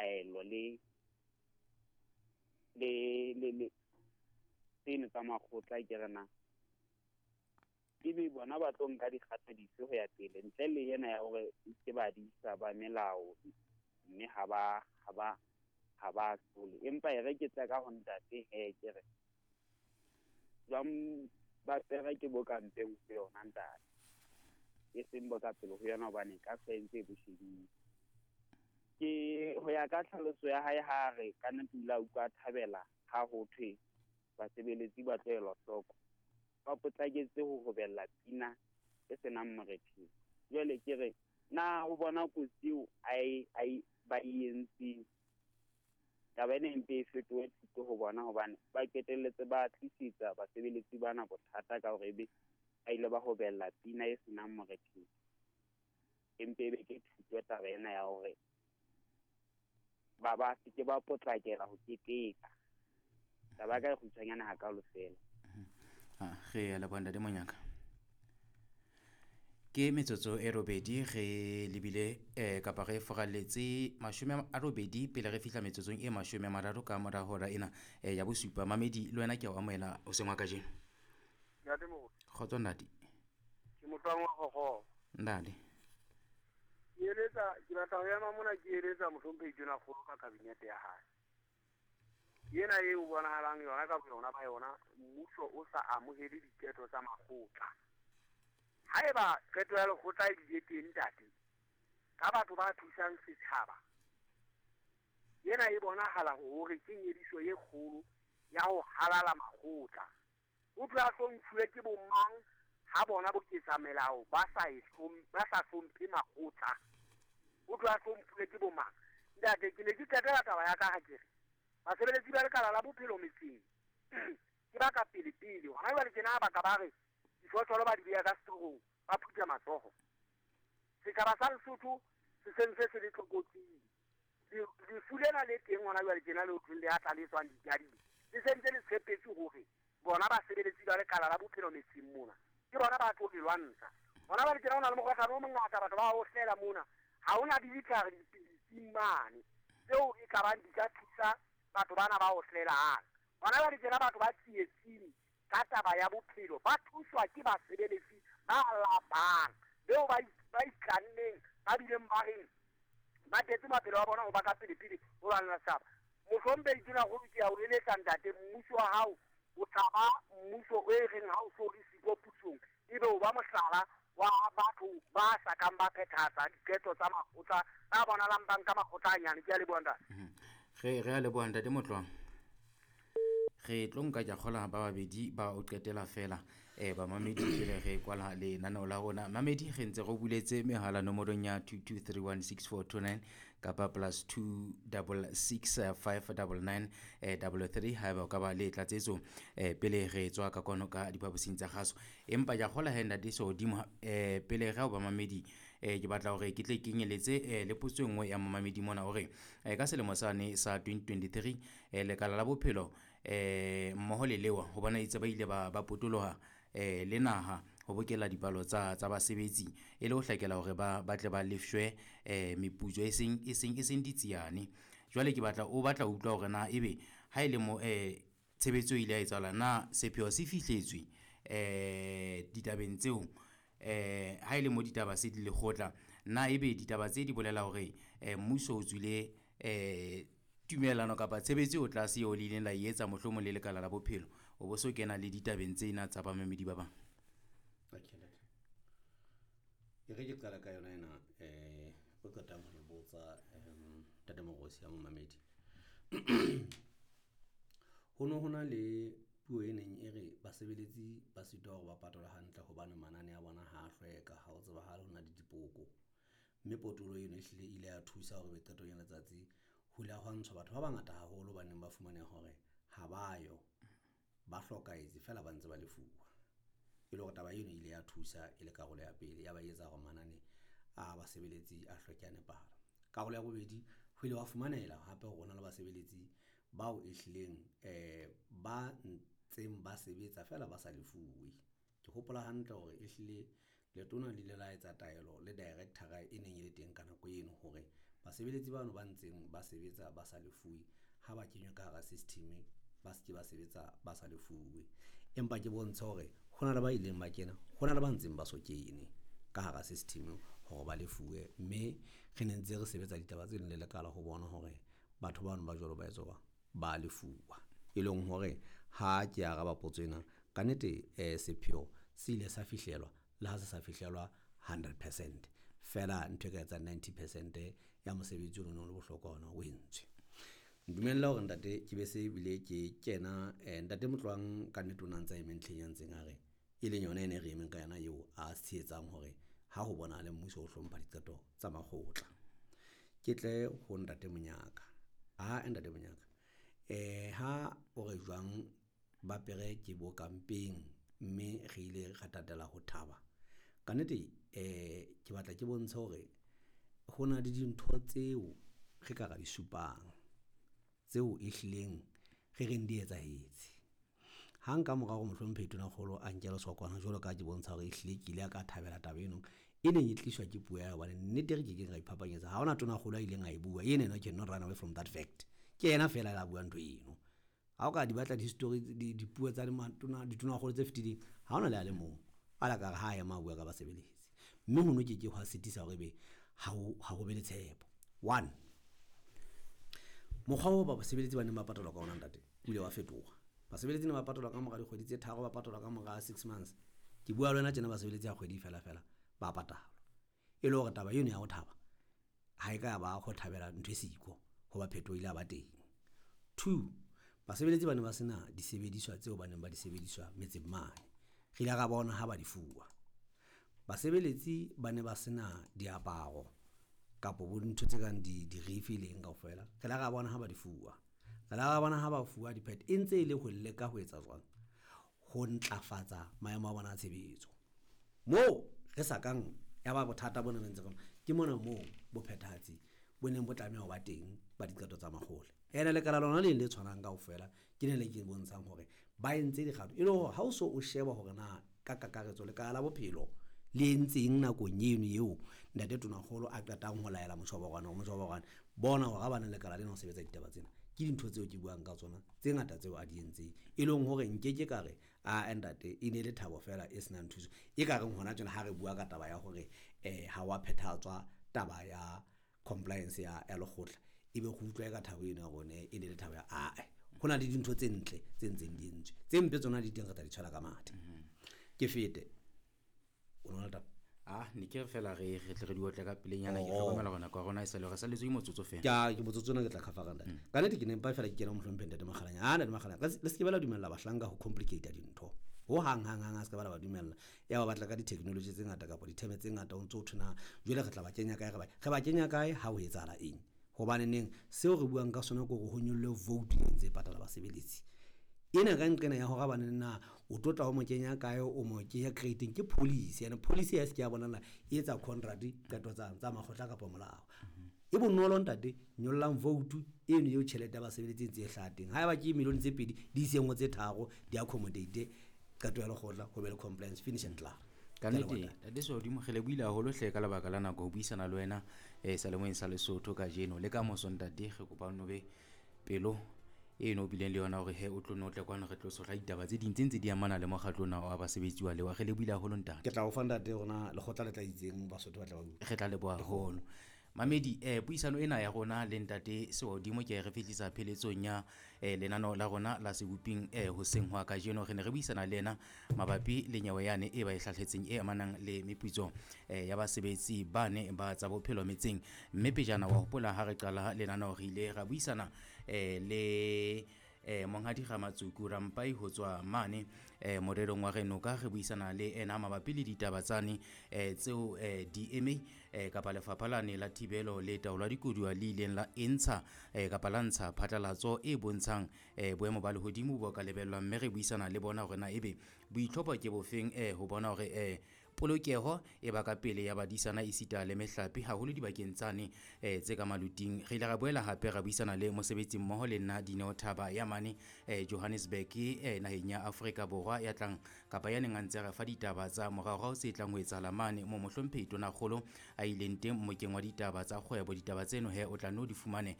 ditaelo le le le le tseno tsa makgotla, ke re na ebe bona ba tlo nka dikgato dife ho ya pele ntle le ena ya hore ke badisa ba melao, mme ha ba hlole. Empa e re ke tla ka ho ntate he, ke re jwang ba pere ke bo ka mpeng ho yona ntate, e seng bo ka pele ho yona, hobane ka sentse e bo shebile. Ke ho ya ka tlhaloso ya hae, ha re ka nnete o ile a utlwa a thabela ha ho thwe basebeletsi ba tlo elwa hloko, ba potlaketse ho hobella pina e senang morethetho. Jwale ke re na o bona kotsi eo a e ba e entseng, taba ena e mpe e fetohe thuto ho bona, hobane ba qetelletse ba tlisetsa basebeletsi bana bothata ka hore ebe ba ile ba hobella pina e senang morethetho. Empe ebe ke thuto taba ena ya hore ba se ke ba potlakela ho keteka. Taba ya ka e kgutshwanyane hakalo fela. Re a leboha, ntate Monyaka. Ke metsotso e 8 re lebile kapa re foralletse 80 pele re fihla metsotsong e 30 ka mora hora ena ya bosupa. Mamedi, le wena ke a o amohela hoseng wa kajeno. Ntate Moruti. Kgotso, ntate. Ke Motlwang wa Kgokgo. Ntate. Ke eletsa, ke batla ho ema mona ke eletsa mohlomphehi Tonakgolo ka kabinete ya hae. Ena e o bonahalang yona ka boyona ba yona, mmuso o sa amohele diqeto tsa makgotla. Haeba qeto ya lekgotla e bile teng, ntate, ka batho ba thusang setjhaba, ena e bonahala hore ke nyediso e kgolo ya ho halala makgotla. O tla hlomphuwe ke bo mang ha bona boketsa melao ba sa hlomphe makgotla? O tla hlomphuwe ke bo mang, ntate? Ke ne ke qetela taba ya ka ha ke re basebeletsi ba lekala la bophelo metseng ke ba ka pele pele hona jwale tjena, ba ka ba re difotlolo ba di beha ka setorong, ba phutha matsoho. Setjhaba sa Lesotho se sentse se le tlokotsing. Lefu lena le teng hona jwale tjena le hothweng le atla le tswang ditading, le sentse le tshepetse hore bona basebeletsi ba lekala la bophelo metseng mona ke bona ba tlo le lwantsha. Hona jwale tjena ho na le mokgohlane o mongata, batho ba ohlela mona, ha hona le ditlhare dipilising mane tseo e ka bang di ka thusa batho bana ba ohlelang. Hona jwale tjena batho ba tsietsing ka taba ya bophelo ba thuswa ke basebeletsi ba lapang beo ba itlanneng, ba bileng ba reng ba tetse maphelo a bona ho ba ka pele-pele ho lwanela setjhaba. Mohlomphehi Tonakgolo, ke a o eletsa, ntate, mmuso wa hao o tla ba mmuso o e reng ha o so le siko pusong, ebe o ba mohlala wa batho ba sa kang ba phethahatsa diqeto tsa makgotla, ba bonahalang ba nka makgotla a nyane. Ke a leboha, ntate. Re a leboha, ntate Motlwang. Re tlo nka, ke a kgola, ba babedi ba o qetela fela bamamedi pele re kwala lenaneo la rona. Mamedi, re ntse re buletse mehala nomorong ya 22316429 kapa +266 599 33 haeba o ka ba le tlatsetso pele re tswa ka kwano ka diphaposing tsa kgaso. Empa ke a kgola he, ntate Sehodimo, pele re o ba mamedi, ke batla hore ke tle kenyeletse le potso e nngwe ya momamedi mona hore ka selemo sane sa 2023 lekala la bophelo mmoho le lewa ho bona itse ba ile ba potoloha le naha ho bokella dipalo tsa basebetsi e le ho hlakela hore ba tle ba lefshwe meputso e seng ditsiane. Jwale ke batla o batla ho utlwa hore na ebe ha e le mo tshebetso e ile ya etsahala, na sepheo se fihletswe ditabeng tseo? Ha e le mo ditaba se di lekgotla, na ebe ditaba tse di bolela hore mmuso o tswile tumellano kapa tshebetso eo tlase eo le ileng la e etsa mohlomong le lekala la bophelo, o bo so kena le ditabeng tsena tsa bamamedi ba bang? Okay, ntate. E re ke qala ka yona ena o qetang ho e botsa, ntate Morosi, ya momamedi. Ho no ho na le puo e neng e re basebeletsi ba sitwa hore ba patalwe hantle hobane manane a bona ha a hlweka, ha o tsebahale, ho na le dipoko. Mme potolo eno e hlile e ile ya thusa hore qetong ya letsatsi ho ile hwa ntshwa batho ba bangata haholo ba neng ba fumaneha hore ha ba yo, ba hlokahetse feela ba ntse ba lefuwa. E le hore taba eno e ile ya thusa e le karolo ya pele ya ba etsa hore manane a basebeletsi a hlweke, a nepahala. Karolo ya bobedi, ho ile wa fumanela hape hore hona le basebeletsi bao e hlileng ba ntseng ba sebetsa feela ba sa lefuwe. Ke hopola hantle hore ehlile letona le ile la etsa taelo le director e neng e le teng ka nako eno hore Basebeletsi bano ba ntseng ba sebetsa ba sa lefuwe ha ba kenywa ka hara system, ba se ke ba sebetsa ba sa lefuwe. Empa ke bontshe hore ho na le ba ileng ba kena, ho na le ba ntseng ba so kene ka hara system hore ba lefuwe. Mme re ne ntse re sebetsa ditaba tseno le lekala ho bona hore batho bano ba jwalo ba etswa jwang, ba lefuwa. E leng hore ha ke araba potso ena, ka nnete sepheo se ile sa fihlelwa le ha se sa fihlelwa 100 percent. Feela ntho e ka etsang 90 percent ya mosebetsi ono o no le bohlokwa ona o entswe. Ntumelle hore ntate ke be se ebile ke kena ntate Motloang ka nnete o na ntsa eme ntlheng ya ntseng a re, e leng yona ena e re emeng ka yona eo a tshehetsang hore ha ho bonahale mmuso o hlompha diqeto tsa makgotla. Ke tle ho ntate Monyaka, ah ntate Monyaka ha o re jwang ba pere ke bo ka mpeng, mme re ile ra tatela ho thaba. Ka nnete ke batla ke bontshe hore ho na le dintho tseo re ka ra di supang, tseo e hlileng re reng di etsahetse. Hang ka mora hore Mohlomphehi Tonakgolo a nke lesokwana jwalo ka ha ke bontsha hore ehlile ke ile ka thabela taba eno e neng e tliswa ke puo ya hae. Hobane nnete re kekeng ra iphapanyetsa, ha hona tonakgolo a ileng a e bua ena cannot run away from that fact. Ke yena feela a la bua ntho eno. Ha o ka di batla di-history, dipuo tsa matona, ditonakgolo tse fetileng, ha hona le a le mong a la ka re ha ema a bua ka basebeletsi. Mme hono ke ke hwa sitisa hore ebe ha ho be le tshepo. One, mokgwa oo ba basebeletsi ba neng ba patalwa ka ona ntate, o ile wa fetoha. Basebeletsi ne ba patalwa ka mora dikgwedi tse tharo, ba patalwa ka mora 6 months. Ke bua le wena tjena, basebeletsi ha kgwedi fela fela ba patalwa. E le hore taba eno ya ho thaba ha e ka ba ho thabela ntho e siko hoba phetoho ile ya ba teng. Two, basebeletsi ba ne ba sena disebediswa tseo ba neng ba di sebediswa metseng mane. Re ile ra bona ha ba di fuwa. Basebeletsi ba ne ba sena diaparo kapo bo dintho tse kang dirifi le eng kaofela. Re la ra bona ha ba di fuwa. Re la ra bona ha ba fuwa di-pad, e ntse e le ho leka ho etsa jwang, ho ntlafatsa maemo a bona a tshebetso. Moo re sa kang ya ba bothata bona re ntse re, ke mona moo bophethahatsi bo neng bo tlameha ho ba teng ba diqeto tsa makgotla. Ene lekala lona leng le tshwanang kaofela, ke lena le ke bontshang hore ba entse dikgato e le hore ha o so o sheba hore na ka kakaretso lekala la bophelo le entseng nakong eno eo ntate Tonakgolo a qetang ho laela motjhoborwane hore motjhoborwane bona hore ha ba ne lekala lena ho sebetsa ditaba tsena. Ke dintho tseo ke buang ka tsona tse ngata tseo a di entseng, e leng hore nkeke ka re ah ntate e ne le thabo fela e senang thuso. E ka reng hona tjena ha re bua ka taba ya hore ha wa phethahatswa taba ya compliance ya lekgotla, ebe re utlwa e ka thabo eno ya rona e ne le thabo ya ae. Ho na le dintho tse ntle tse ntseng di entswe, tse mpe tsona di teng, re tla di tshwela ka mathe. Ke fete o no taba. Ah, ne ke re fela re tle re di otle ka pelenyana. Ke Oh. hlokomela hore nako ya rona e sale re salletswe ke motsotso fela. Ke motsotso ona ke tla cover ntate. Ka nnete ke ne mpa fela ke kena mohlomphehi ntate Makgalanya. Ah, ntate Makgalanya, le se ke ba la dumella bahlanka ho complicate dintho. Ho hang hang hang, a se ke ba la ba dumella. Ya ba batla ka di-technology tse ngata kapa ditheme tse ngata o ntso ho thwe na jwale re tla ba kenya kae, re ba kenya kae ha ho etsahala eng. Hobane neng seo re buang ka sona ke hore ho nyollwe vote e ntse e patala basebeletsi. Ena ka nqena ya hore bane na o tlo tla o mo kenya kae, o mo kenya creating ke policy, and policy ya se ke ya bonahala e etsa contract qeto tsa makgotla kapa molao. E bonolo ntate, nyollang vote eno eo tjhelete ya basebeletsi e ntse e hlaha teng. Haeba ke million tse pedi di iseng ho tse tharo, di accommodate qeto ya lekgotla, ho be le compliance, finish and klaar. Ka Ke a leboha, nnete ntate. Ntate Sehodimo, re lebohile haholo hle ka lebaka la nako ho buisana le wena seyalemoyeng sa Lesotho kajeno le ka moso. Ntate, re kopa o no be pelo eno o bileng le yona hore he o tlo no tle kwano re tlo tshohla ditaba tse ding tse ntse di amana le mokgatlo ona wa basebetsi wa lewa. Re lebohile haholo ntate. Ke tla o fa ntate rona lekgotla le tla itseng Basotho ba tla ba utlwa. Re tla leboha haholo mamedi. Puisano ena ya rona le ntate Sehodimo ke re fihlisa pheletsong ya lenaneo la rona la seboping hoseng hwa kajeno. Re ne re buisana le yena mabapi le nyewe yane e ba e hlahletseng e amanang le meputso ya basebetsi bane ba tsa bophelo metseng. Mme pejana wa hopola ha re qala lenaneo re ile ra buisana le monghadi Ramatsuku Rampai ho tswa mane morerong wa Renoka, re buisana le ena mabapi le ditaba tsane tseo DMA kapa lefapha lane la thibelo le taolo ya dikoduwa le ileng la entsha kapa la ntsha phatlalatso e bontshang boemo ba lehodimo bo ka lebellwang, mme re buisana le bona hore na ebe boitlhopho ke bofeng ho bona hore. Polokeho e ba ka pele ya badisana esita le mehlape, haholo dibakeng tsane tse ka maluting. Re ile ra boela hape ra buisana le mosebetsi mmoho le nna Dineo Thaba ya mane Johannesburg, naheng ya Afrika Borwa, ya tlang kapa ya neng a ntse re fa ditaba tsa moraorao tse tlang ho etsahala mane mo mohlomphehi Tonakgolo a ileng teng mmokeng wa ditaba tsa kgwebo. Ditaba tseno he o tla nno di fumane.